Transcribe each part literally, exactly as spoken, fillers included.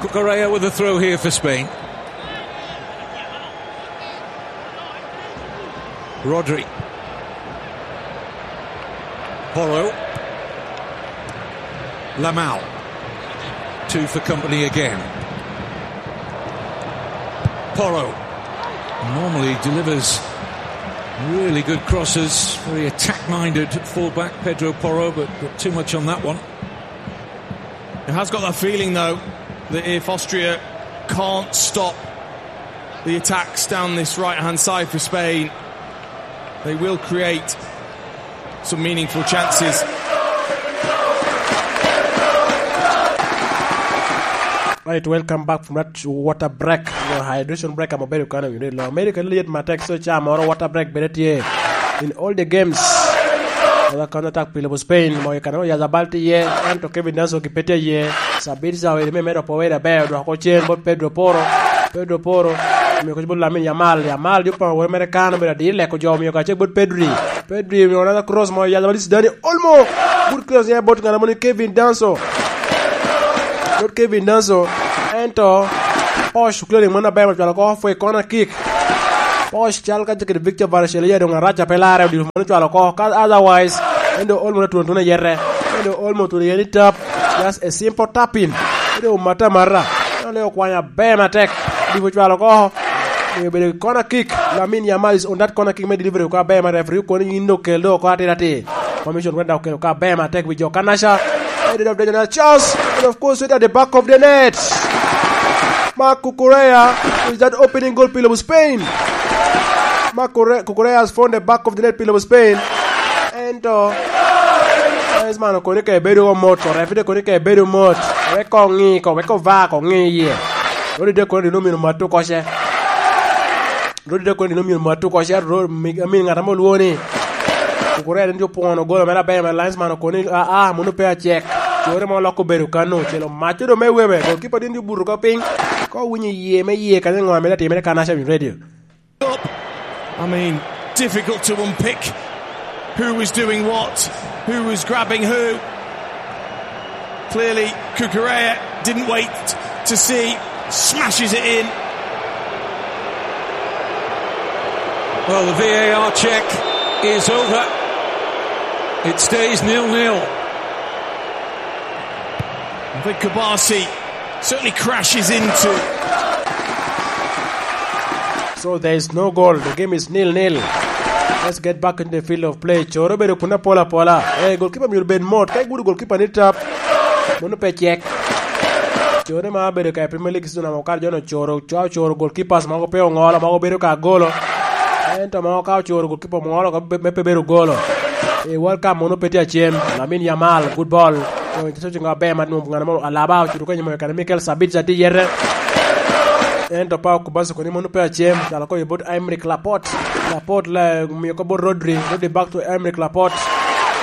Correa with a throw here for Spain. Rodri. Porro. Lamal. Two for Kompany again. Porro normally delivers really good crosses. Very attack-minded fullback, Pedro Porro, but got too much on that one. It has got that feeling, though, that if Austria can't stop the attacks down this right-hand side for Spain, they will create some meaningful chances. Right, welcome back from that water break. You know, hydration break, I'm a very kind of, you know, America, liet matek, so cha moro water break bene tye in all the games. Wala counter attack pile bu Spain, mo i kanamo Yazabal tye iye, ento Kevin Danso ki pe tye iye. Sabit Zaweri me medo power aber, odwoko cen bot Pedro Porro. Pedro Porro, omio koc bot Lamine Yamal. Yamal jo pa wore mere kan, obedo adir leko jo, omio kacel bot Pedri. Pedri omio another cross mo, Yazabal is Dani Olmo. Good cross ya bot ngana moni Kevin Danso. Bot Kevin Danso. Ento, Posh clearing moni aber, ocwalo oko for a corner kick. Posh cal ka kede Victor Varashelia doŋ arac a pe larre, odiro moni ocwalo oko. Ka otherwise, en doŋ Olmo otun atuna i yete. En doŋ Olmo otun iye ni tap. Just a simple tapping. En doŋ omata amata. En doŋ okwanyo aber matek. Odiro ocwalo oko. Omio obedo corner kick. Lamine Yamal is on that corner kick me delivery oko aber ma referee okono ni yin doŋ kel doŋ oko atir atir. Commission went down okelo oko aber matek wi jo Kanasha. Headed of danger, chance. And of course, right at the back of the net. Marc Cucurella is that opening goal pile of Spain. Marc Cucurella has found the back of the net pile of Spain. Ento, Griezmann okoni ka ebedo mot, orefide koni ka ebedo mot. Wek oŋi ko, wek ova ko ŋi iye. Rodi de koni dino mino matu koce. Rodi de koni dino mino matu koce, ro-, mi-, amin ŋat ame olwoŋo ni Cucurella en jo pwono golo mere aber, ma linesman okoni, "Ah, ah, mano pe acek." Core ma oloko obedo kano, ocelo mac odo me webe. Goalkeeper din jo buto ka piny. Ka owinyo iye me iye, kanya ŋo ame atimere kan Asha Radio. I mean, difficult to unpick who was doing what, who was grabbing who. Clearly, Cucurella didn't wait to see, smashes it in. Well, the V A R check is over. It stays nil-nil. Vic Kabasi certainly crashes into. So there is no goal. The game is nil nil. Let's get back into the field of play. Coro bedo kun apola apola. Eh, goalkeeper myero bed mot. Ka igudo goalkeeper ni tap, mono pe cek. Coro ma bedo ka i Premier League season amo kar jono coro, cwa ocoro goalkeepers mogo pe ongolo, mogo bedo ka golo. Ento mogo ka ocoro goalkeeper ongolo, ka be-, me pe bedo golo. E World Cup mono pe tye acem. Lamine Yamal, good ball. Ento, ento, ento, aber ma nwoŋo ŋana mo Alaba ocuto kenyo mo i kare Mikel Sabitzer tye yete. Ento Pau Kubasu koni mono pe acem, calo ko i bot Aymeric Laporte. Laporte la omio ko bot Rodri, Rodri back to Aymeric Laporte.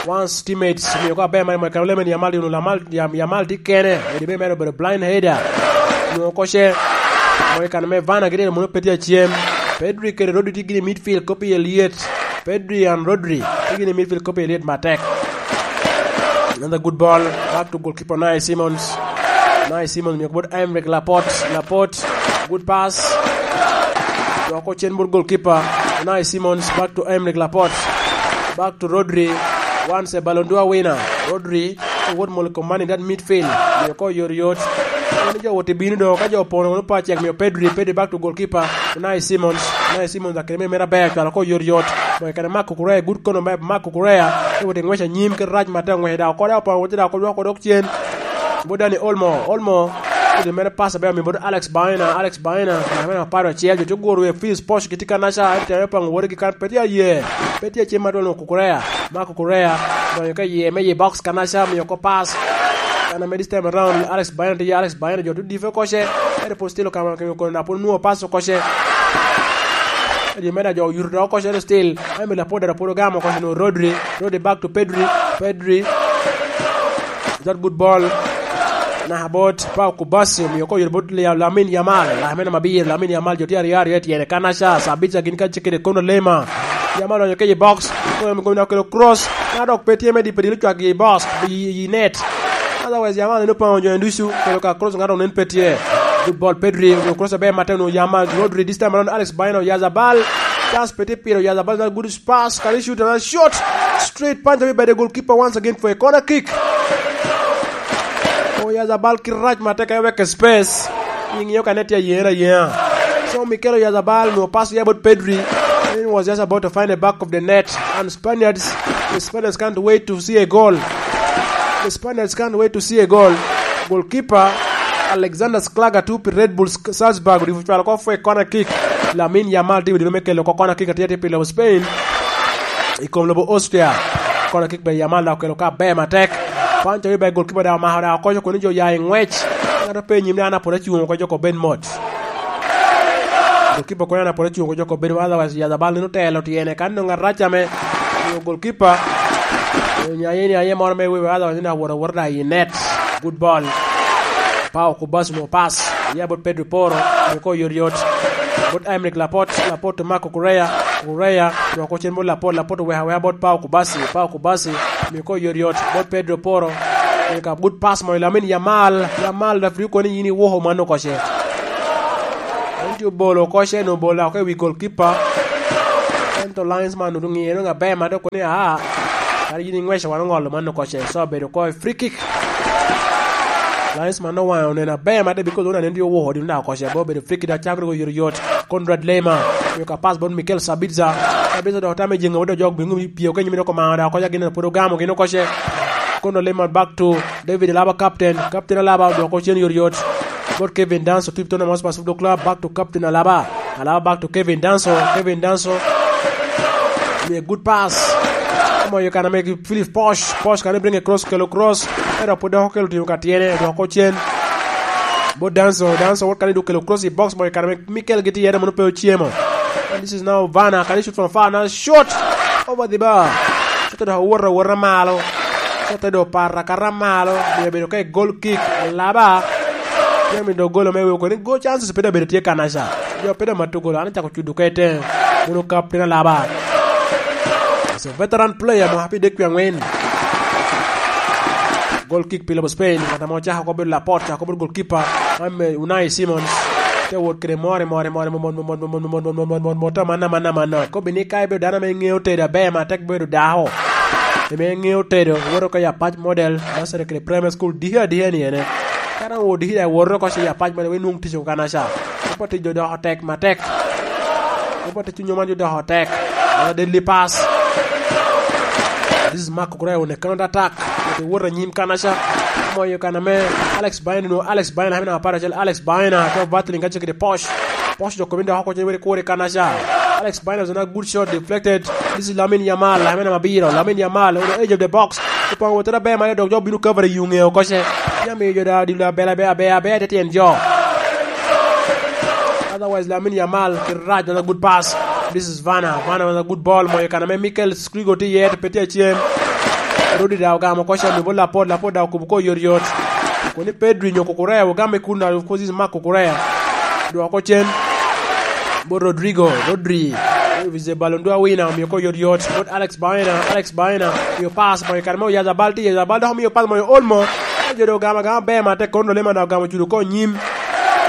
Once teammates, omio ko aber ma, ma, Lamine Yamal, Lamine Yam-, Yamal tye kene, edi me mere obedo blind header. Nwoŋo koce, mo i kare me Vana gire mono pe tye acem. Pedri kede Rodri tye gini midfield, kopi e liet. Pedri and Rodri, tye gini midfield, kopi e liet matek. Another good ball, back to goalkeeper Unai Simons. Unai Simons, mio bot Aymeric Laporte. Laporte, good pass. Dwoko cen bot goalkeeper. Unai Simons, back to Aymeric Laporte. Back to Rodri. Once a Ballon d'Or winner. Rodri, wot molo kom man in that midfield. Mio ko yot yot. Ni jo wot i bino do, ka jo opono, ono pa cek mio Pedri, Pedri back to goalkeeper. Unai Simons, Unai Simons akene me mera ber, cwalo ko yot yot. Mo kene Marc Cucurella, good corner me Marc Cucurella. Te wot i ngwec anyim, ke rac matek ngwec da, kode opono, wot da, kode dok cen. Bo Dani Olmo, Olmo. Kede mere pass aber, mi bot Alex Baena, Alex Baena. Na mere aparo acel, jo te guro e Philips Posh, gitye ka naca, ete te pango wore gi kan, pe tye aye. Pe tye acem ma dwon Cucurella. Marc Cucurella, donyo ka iye, me i box, Kanaca, mio ko pass. Kan ame this time around, Alex Baena tye, Alex Baena, jo te dife koce. Ete pwod still okamo, kemi kono na pwod onwoŋo pass koce. Edi meda jo oyuto dok koce, ete still. Ame Laporte dok pwod ogamo koce, no Rodri. Rodri back to Pedri. Pedri. That good ball. Naka bot Pau Kubasi, omio ko yot bot Lia-, Lamine Yamal. Lamine Mabir, Lamine Yamal, jo tye aryo aryo i tyene. Kanaca, Sabitzer gin ka cikede kono Lema. Yamal odonyo kec i box. Kono gomina okelo cross. Na dok pe tye me di, pe di lucwak i box, i, i net. Otherwise, Yamal en opango jo en ducu, kelo ka cross, ŋato nen pe tye. Good ball, Pedri. Cross aber matek, onwoŋo Yamal. Rodri, this time around, Alex Baena, Oyarzabal. Chance pe tye pire, Oyarzabal, another good pass. Can he shoot? Another shot. Straight punch, abi bedo goalkeeper once again for a corner kick. Oyarzabal kite rac matek, eweko space. Iŋeo ka ne tye ayeŋa ayeŋa. So, Mikel Oyarzabal onwoŋo pass ya bot Pedri. He was just about to find the back of the net. And Spaniards, the Spaniards can't wait to see a goal. The Spaniards can't wait to see a goal. Goalkeeper Alexander Schlager, tuŋ pi Red Bull Salzburg, odipo cwalo oko for a corner kick. Lamine Yamal tye i dino me kelo oko corner kick atye atye pi lobo Spain i kom lobo Austria. Corner kick ber, Yamal dok okelo ka aber matek. Pancho Ibe, goalkeeper dok omako dok okoco kun jo oya i ŋwec. Ŋat ope i nyim ni an apwod acuŋ oko, jo kop bed mot. Goalkeeper kono an apwod acuŋ oko, jo kop bed mot, otherwise Oyarzabal nino telo tyene kan nongo arac ame goalkeeper. Onyo aye ni aye moro me wiwe, otherwise nino awot awota i net. Good ball. Pau Kubasi mo pass. Ya bot Pedro Poro. Mio ko yot yot. Bot Aymeric Laporte. Laporte to Marco Correa. Correa. Dok ocen bot Laporte. Laporte oweko aweka bot Pau Kubasi. Pau Kubasi. Mio ko yot yot. Bot Pedro Poro. Mio ka good pass mo i Lamine Yamal. Yamal, referee koni yin iwoko mano koce. En tye obolo koce, no obolo oko i wi goalkeeper. Ento linesman oŋiye dong aber, ma dok koni, "Aa, kadi yin iŋweco wan oŋolo mano koce." So obedo ko free kick. Linesman owaŋe oneno aber mada, because oneno ni tye owoko dino dok okoce, abo obedo free kick, dok cako dok oyot oyot. Conrad Lema, mio ka pass bot Mikel Sabitzer. Sabitzer dok otamo i jeŋe, dok jok bingo pio kenyo, dok omano dok okoce, gin pwod ogamo gin okoce. Conrad Lema back to David Alaba, captain. Captain Alaba dok ocen yot yot. Bot Kevin Danso, Tipton Amos Pacific Club, back to captain Alaba. Alaba back to Kevin Danso. Kevin Danso. Mie good pass. Omoyo kan ame ki Philip Posh. Posh kan bring across, kelo cross. Ento pwod dok okelo timo ka tyene, dok ocen. Bot Danso, Danso wot kan dok kelo cross i box, moyo kan ame Mikel gitye iye, mono pe ocemo. And this is now Vana, can he shoot from far? Now shot over the bar. Shot dok owot awota malo. Shot dok opato akata malo. Mio bedo ka i goal kick. Alaba. Jami dok golo me weko ni goal chances pe dok bedo tye kanaca. Jo pe dok mato golo, an acako cudo ka i teŋe. Mono captain Alaba. He's a veteran player, mo happy dek pi aŋwen. Goal kick pi lobo Spain, ŋat ame ocako oko bedo Laporte, cako bedo goalkeeper, ame Unai Simons. Te wot kede more, more, more, more, more, more, more, more, more, more, more, more, more, more, more, amanna, amanna, amanna. Kobi ni ka ibedo dano ame ŋeo tedo aber, ma tek bedo dako. Ame ŋeo tedo, woto ka i Apac Model, nursery kede primary school, diki adika ni ene. Ka dong odiki dok iwoto oko i Apac Model, wek inwoŋ tic oko kanaca. Kobo tic jo doko tek matek. Kobo tic onyo man jo doko tek. Another deadly pass. This is Marco Correa on a counter attack. Oti wot anyim kanaca. Moyo kan ame Alex Baena, no, Alex Baena, hamina apar acel, Alex Baena, to battling kace kede Posh. Posh jo kome dok oko cen weri kore kanaca. Alex Baena was a good shot deflected. This is Lamine Yamal, hamina mabiro. Lamine Yamal, on the edge of the box. Opong wotera ber ma dok jo bino cover i yuŋe okoce. Yami jo da di la bela bea bea bea te tyen jo. Otherwise, Lamine Yamal, kirac, another good pass. This is Vana. Vana, another good ball. Moyo kan ame Mikel Skrigo tye iye, to pe tye acem. Rodi da ogamo koca, mi bo Lapod, Lapod da okubo ko yot yot. Koni Pedri nyo Kukurea, ogamo i kun, of course, this is Marc Kukurea. Dwoko cen. Bot Rodrigo, Rodri. Is a Ballon d'Or winner, omiyo ko yot yot. Bot Alex Baena, Alex Baena. Miyo pass, moyo kan ame Oyarzabal tye, Oyarzabal dok omiyo pass, moyo Olmo. Jo do ogamo agama ber, ma te kono lema dok ogamo cudo ko nyim.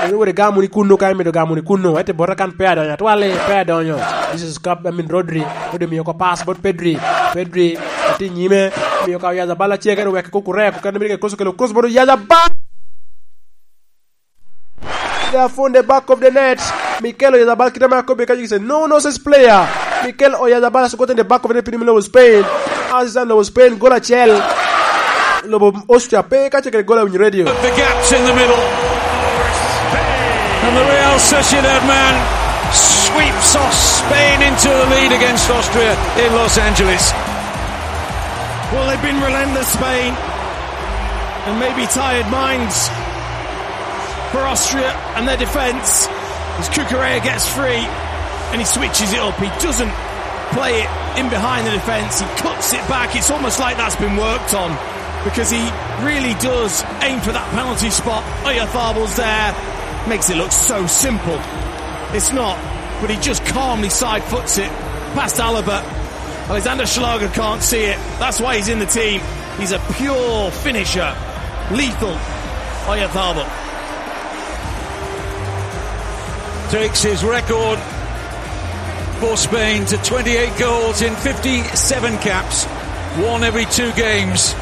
Eno wore gamo ni kunnu, ka imido gamo ni kunnu. Ete bota kan pe adonyo, atwali, pe adonyo. This is Cup, I mean, Rodri. Rodri miyo ko pass bot Pedri. Pedri, ati nyime. Miyo ka Oyarzabal acel, kede wek Kukurea, Kukurea miyo ke cross, kelo cross bot Oyarzabal. They have found the back of the net. Mikel Oyarzabal, kita ma kobe ka jikise. No nonsense player. Mikel Oyarzabal has gotten the back of the net, piny me lobo Spain. As is lobo Spain, goal acel. Lobo Austria, pe ka cekere goal awinyo radio. The gaps in the middle. And the Real Sociedad man sweeps off Spain into the lead against Austria in Los Angeles. Well, they've been relentless, Spain, and maybe tired minds for Austria and their defence. As Cucurella gets free and he switches it up, he doesn't play it in behind the defence, he cuts it back. It's almost like that's been worked on, because he really does aim for that penalty spot. Oyarzabal's there, makes it look so simple. It's not, but he just calmly side foots it past Alaba. Alexander Schlager can't see it. That's why he's in the team. He's a pure finisher. Lethal. Oyarzabal. Takes his record for Spain to twenty-eight goals in fifty-seven caps, one every two games.